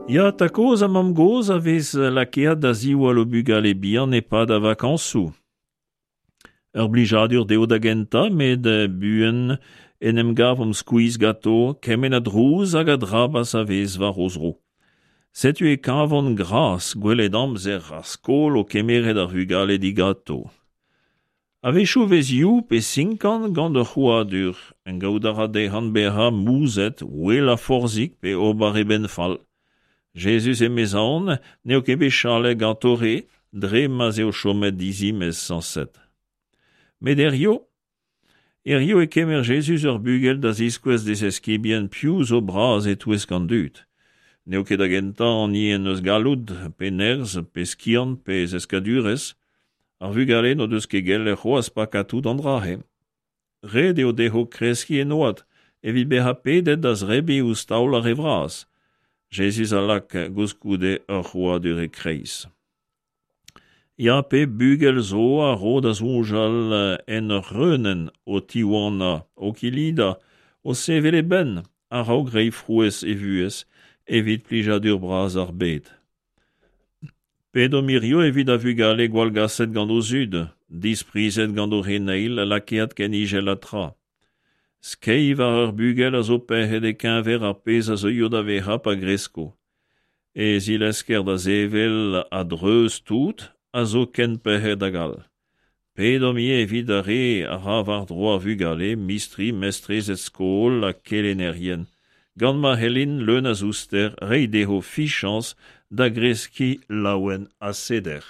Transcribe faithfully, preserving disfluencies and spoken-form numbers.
Ya, tad-kozh ha mamm-gozh a vez lakaet da ziwall o bugale bihan e-pad ar vakañsoù. Ur blijadur dezho da gentañ met buan en em gavont skuizh ganto kement a drouz hag a drabas a vez war o zro. Setu e kavont gras gwelet amzer ar skol o kemeret ar vugale diganto. A-wechoù e vez you pe sinkan gant ur c'hrouadur, en gaout a ra dezhañ bezañ mouzhet, ouelañ forzhik pe ober e benn fall. Jezuz emezaon n'eo ket bet chalet ganto re dre ma'z eo chomet dizimez sañset. Met hiziv, hiziv e kemer Jezuz ur bugel da ziskouez d'e zeskibien piv zo bras e-touesk an dud. N'eo ket da gentañ an hini en deus galloud, pe nerzh, pe skiant, pe zeskadurezh. Ar vugale n'o deus ket gellet c'hoazh pakañ tout an dra-se. Ret eo dezho kreskiñ en oad evit bezañ pedet da zebriñ ouzh taol ar re vras. Jezuz a lak koulskoude ur c'hrouadur e-kreiz. Ya, pep bugel zo a ro da soñjal en ur c'hreunenn o tiwanañ, o killidañ, o sevel e benn, a-raok reiñ frouezh e vuhez evit plijadur bras ar bed. Pedomp hiziv evit ar vugale gwallgaset gant o zud, disprizet gant o c'heneil lakaet ken izel ha tra. Skeiñ war ur bugel a zo pec'hed e-keñver ar pezh a zeuio da vezañ pa gresko. E zilesker da sevel a-dreuz tout a zo ken pec'hed hag all. Pedomp ivez evit ar re a ra war-dro ar vugale, mistri, mestrezed skol ha kelennerien, gant ma c'hellint leun a zouster reiñ dezho fiziañs da greskiñ laouen ha seder.